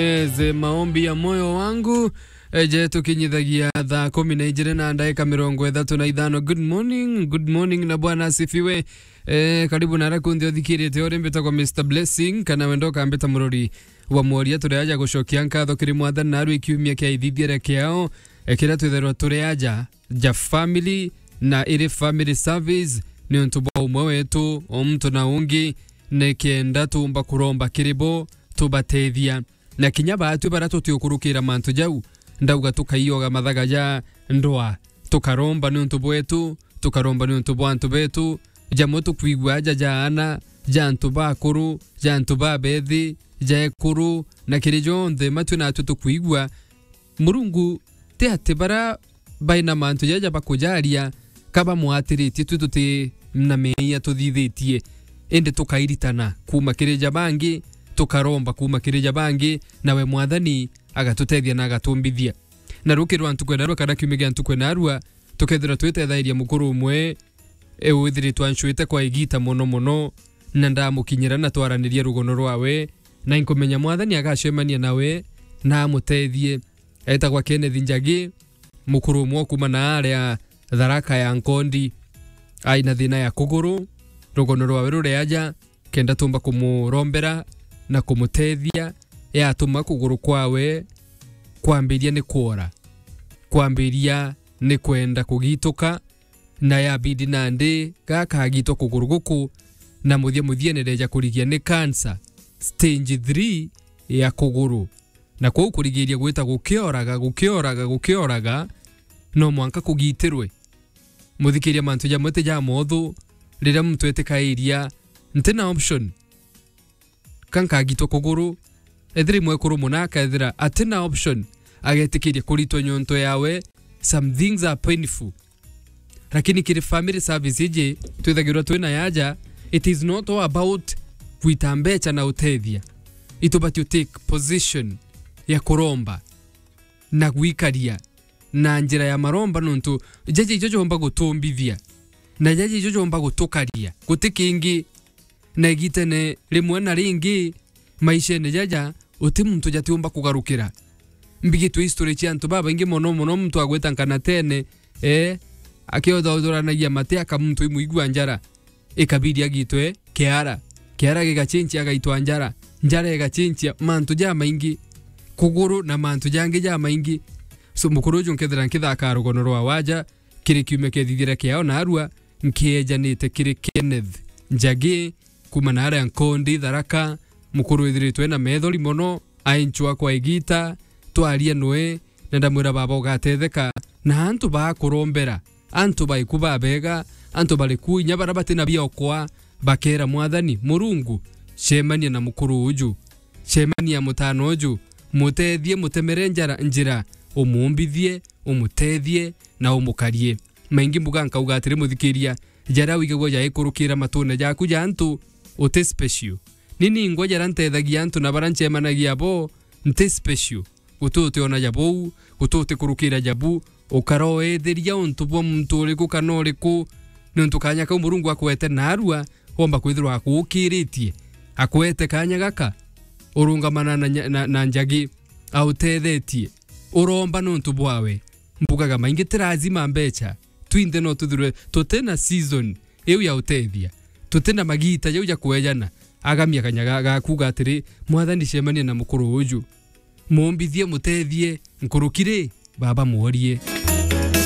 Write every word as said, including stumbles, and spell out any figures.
Yes, maombi ya moyo wangu. Eh, je, tukinyithagia thaa kumi na ijiri na ndagika mirongo ithatu na ithano. Good morning, good morning na Bwana asifiwe. Eh, karibu na rakundi uthikirite uri mbitagwa Mister Blessing, kana wenda ukambita murori wa mworia. Turi aja gucokia nkatho kiri Mwathani narua ikiumia kia ithithiere kiao, eh, kiria twithairwa turi aja ja family na iri family service, ni untu bwa umwe wetu o muntu na ungi, nikenda tumba kuromba kiri bo tubatethia. Na kinya baatwi baria tutiukurukira mantu jau, ndauga tukaioga mathaga ja ndwaa, tukaromba ni untu bwetu, tukaromba ni untu bwa antu betu, jamwe tukwigua aja ja aana, ja antu bakuru, ja antu babethi, ja ekuru, na kiri jonthe matwi natwi tukwigua. Murungu ti ati baria bai na mantu jaja bakujaria ka bamwatiritie, twi tuti na meeyia tuthithitie, indi tukairitana kuuma kiri ja bangi, tukaromba kuuma kiri ja bangi, nawe Mwathani agatutethia na agatumbithia. Na rukiri rwa ntuku ya narua kana kiumia gia ntuku ya narua, tukethirwa twitethairia mukuru umwe e withiritwe ancuite kwa igita mono mono, na ndamukinyira na twaraniria rugono rwawe, na inkumenya Mwathani agacemania nawe na amutethie. Etagwa Kenneth Njagi, mukuru umwe kuma na aria Tharaka ya Nkondi. Ai na thina ya kuguru, rugono rwawe rureaja, kenda tumba kumurombera na kumutethia, yatuma kuguru kwawe kwambiria ni kwora, kwambiria ni kwenda kugituka, na yabidi nandi gakagitwa kuguru guku, na muthia muthia nireja kurigia ni cancer stage three ya kuguru. Na kwou kurigiria gwita gukioraga, gukioraga, gukioraga, no mwanka kugitirwe. Muthikiria, mantu jamwe ti ja mothu riria muntu etikairia, nti na option. Ka nkagitwa kuguru, ethira i mwekuru muna akethira ati na option, agetikiria kuritwa nyonto yawe. Some things are painful. Lakini kiri family service iji twithagirwa twina yaja, it is not all about gwita mbecha na utethia. Itubati u take position ya kuromba na gwikaria na njira ya maromba, nontu jaja ijo jomba gutumbithia na jaja ijo jomba gutukaria, guti kingi. Na igitene rimwe na ringi maishene jaja, uti muntu jatiumba kugarukira. Mbigitwe history cia antu babaingi mono mono, muntu agweta nkanatene, eh, akiothothoranagia mate aka muntu imwigua njara, ikabidi agitwe kiara, kiara gigachinchia agaitwa njara, njara igachinchia, mantu jamaingi, kuguru na mantu jangi jamaingi. So mukuru uju nkethira nkithaka rugono rwa waja, kiri kiumia kiethithire kiao narua, nkiejanite kiri Kenneth Njagi, kuma na aria Nkondi Tharaka, mukuru withiritwe na methori mono, ainchwa kwa igita, twaria nwe, na ndamwira, baba, ugatetheka na antu bakurombera, antu baiku babega, antu bariku inya baria batina biokwa, bakera Mwathani Murungu, cemania na mukuru uju, cemania mutano uju, mutethie, mutemere njara, njira, umumbithie, umutethie, na umukarie. Maingi mbuga nkauga atiri, muthikiria, jaria wigagua jaikurukira matune jaku ja antu, uti special. Ni ningwa jaria ntethagia antu na baria ncemanagia bo, nti special. Guti utiona ja bou, guti utikurukira ja bu, ukara uetheria untu bwa muntu uriku kana uriku, niuntu kanya kau Murungu akwete narua, womba kwithirwa akuukiritie, akwete kanya gaka, urungamana na nya-, na, na Njagi, autethetie, uromba niuntu bwawe. Mbugaga maingi ti lazima mbecha, twinthe no tuthirwe tuti na season iu ya utethia, tuti na magita jau ja kwejana. Agamia kanya ga-, gakuga atiri, Mwathani, cemania na mukuru uju, mumbithie, mutethie, nkuruki ri, baba, mworie.